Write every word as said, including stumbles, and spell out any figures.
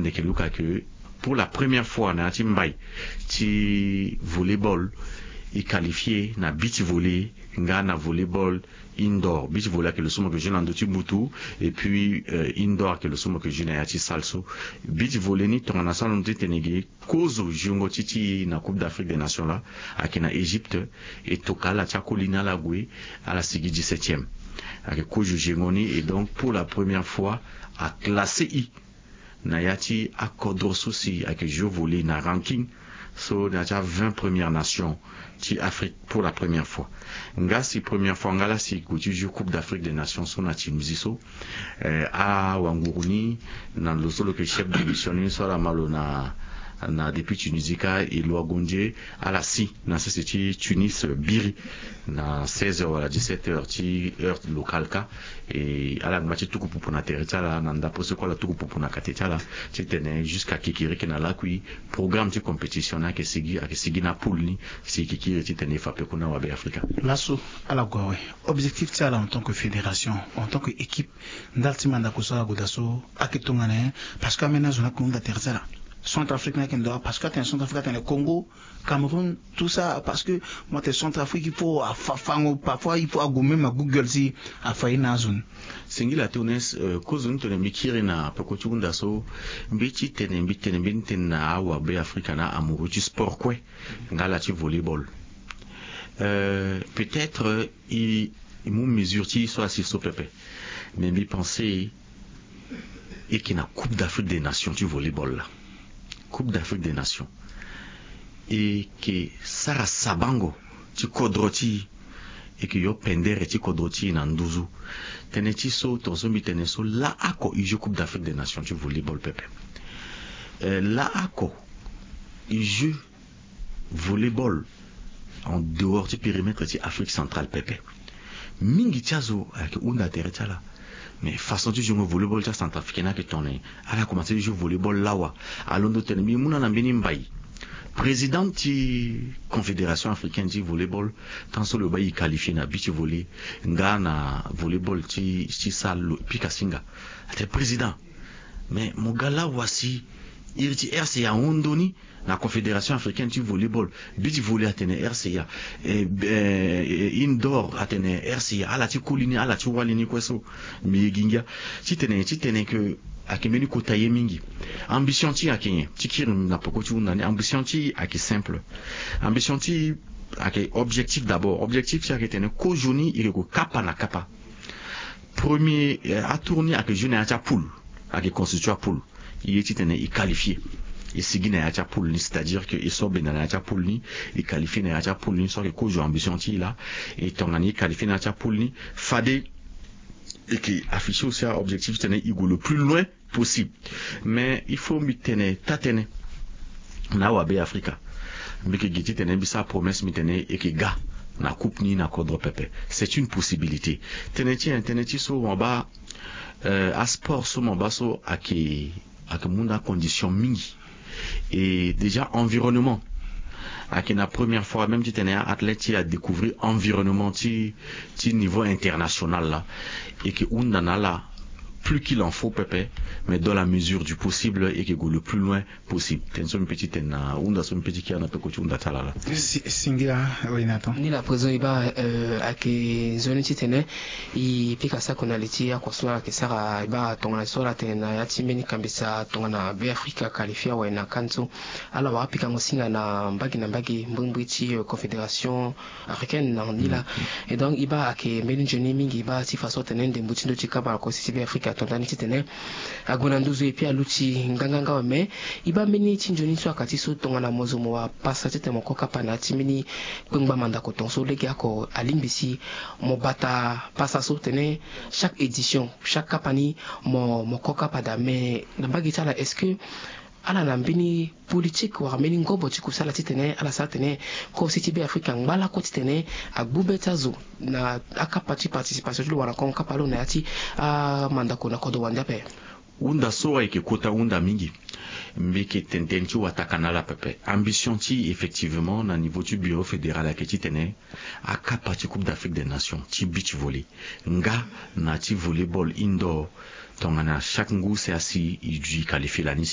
Ndeke luka ke pour la première fois na ya ti mbai ti volleyball, e qualifie na beach volley nga na volleyball indoor. Beach volley ayeke lo so mo yeke jeu na ndö ti butu. Et puis euh, indoor ayeke lo so mo yeke jeu na ya ti salle so. Beach volley ni tongana so alondo ti tene ge kozo jongo ti ti na coupe d'afrique des nations la, ayeke na égypte. E toka ala ti akoli ni ala gue, ala sigi dix-septième. Ayeke kozo jongo ni. Et donc pour la première fois aclasse i na ya ti akodro so si ayeke jeu volley na ranking so na ya ti a vingt première nation ti afrique pour la première fois. Nga si première fois nga la si gue ti jeu coupe d'afrique des nations so na tunisie so, eh, awanguru ni na lo so lo yeke chef de mission ni so ala ma lo na na depuis tunisie kâ, e lo agonze ala si na sese ti tunis biri na seize heures wala dix-sept heures ti heure locale kâ. E ala ngba ti tuku pupu na tere ti ala na ndapo so kue ala tuku pupu na kate ti ala ti tene jusqu'à kikiriki na lakui programme ti compétition ni ayeke sigi ayeke sigi na poule ni. Si kikiri ti tene e fa peko na wabe afrika. Laso ala gue awe, objectif ti ala en tant que fédération, en tant que équipe, ndali ti mandako so ala gue daa so ayeke tongana nyen? Parce que ambeni azo ni ayeke hunda tere ti ala. Centrafrique ni ayeke ndo awe parce que atene centrafrique atene congo, cameroun, tout ça parce que mo tene centrafrique il faut afa fango parfois il faut ague même agu gueule si afa ye na azo ni. Singila tone. Kozo ni tone mbi kiri na peko ti hunda so mbi ti tene mbi tene mbeni tene na awabe afrika na amoureux ti sport kue. Nga ala ti volleyball, euh, peut-être i mu mesure ti i so asi so pepe. Mais mbi pense e yeke na coupe d'afrique des nations ti volleyball la. Coupe d'afrique des nations e yeke sara sabango ti kodro ti e e yeke yo pendere ti kodro ti e na nduzu. Tënë ti so tongaso mbi tene so laa oko e jeu coupe d'afrique des nations ti volleyball pepe. Laa oko e jeu volleyball en dehors ti périmètre ti afrique centrale pepe. Mingi ti azo ayeke hunda tere ti ala. Mais façon ti jongo volleyball ti acentrafricain ni ayeke tongana nyen? Ala komanse ti jeu volleyball lawa. Alondo tene mbi mu na ala mbeni mbai. Président ti confédération africaine ti volleyball, tant so lo baa e qualifie na beach volley nga na volleyball ti ti salle lo pika singa. Atene président, mais mo ga lawa si iri ti rca ahon ndoni na confédération africaine ti volleyball. Beach volley atene rca, indoor atene rca, ala ti koli ni ala ti wali ni kue so. Mbi ye gi ngia ti tene ti tene ke ayeke mbeni kota ye mingi. Ambition ti e ayeke nyen? Ti kiri na poko ti hunda ni ambition ti e ayeke simple. Ambition ti e ayeke objectif d'abord objectif ti e ayeke tene kozo ni e yeke gue kapa na kapa. Premier atour ni ayeke jeu na ya ti apoule. Ayeke constitue apoule. Ye ti tene e qualifie e sigi na ya ti apoule ni c'est-à-dire ke e so benda na ya ti apoule ni. E qualifie na ya ti apoule ni so ayeke kozo ambition ti e laa. E tongana e qualifie na ya ti apoule ni fade e yeke afficher aussi aobjectif ti tene e gue le plus loin possible. Mais il faut mbi tene taa-tënë na awabe afrika. Mbi yeke gi ti tene mbi sara promesse mbi tene e yeke ga na coupe ni na kodro pepe. C'est une possibilité. Tënë ti nyen? Tënë ti so mo baa asport so mo baa so ayeke ayeke mu na acondition mingi. Et déjà environnement ayeke na première fois même ti tene athlète ti e adécouvrir environnement ti ti niveau international laa. E yeke hunda na ala plus qu'il en faut pepe. Mais dans la mesure du possible e yeke gue le plus loin possible. Tënë so mbi pe ti tene na hunda so mbi pe ti kiri na peko ti hunda ti ala laa. Singila. Ni la présent e baa ayeke nzoni ti tene e pika sako na li ti ako so ala yeke sara e baa tongana so ala tene na ya ti mbeni kambisa tongana be afrika qualifie awe na kane so. Ala wara pikango singa na mbage na mbage mbrimbri ti confédération africaine na ni laa. Et donc e baa ayeke mbeni nzoni mingi e baa ti façon tene ndembo ti ndo ti kapa na kosi ti be afrika ato ndani ti tene ague na nduzu epui aluti nganganga awe mais e baa mbeni ti nzoni so aka ti so tongana mo zo mo wara pasa ti tene mo ko kapa na ya ti mbeni kpengba mandako tongaso legeoko alingbi si mo bata pasa so tene chaque édition chaque kapa ni mo mo ko kapa daa mais na mbage ti ala est ce que ala na mbeni politique wala mbeni ngobo ti kusala titene ala sara tene kosi ti be afrika angba lakue titene agbu be ti azo na akapa ti participation ti lo wala na kongo kapa lo na ya ti amandako na kodro wande ape. Hunda so ayeke kota hunda mingi. Mbi yeke tene tënë ti wataka na ala pepe ambition ti effectivement na niveau ti bureau fédéral ayeke titene akapa ti coupe d'afrique des nations ti beach volley nga na ti volley ball indoor. Tongana chaque ngu si asi e dui qualifie lani.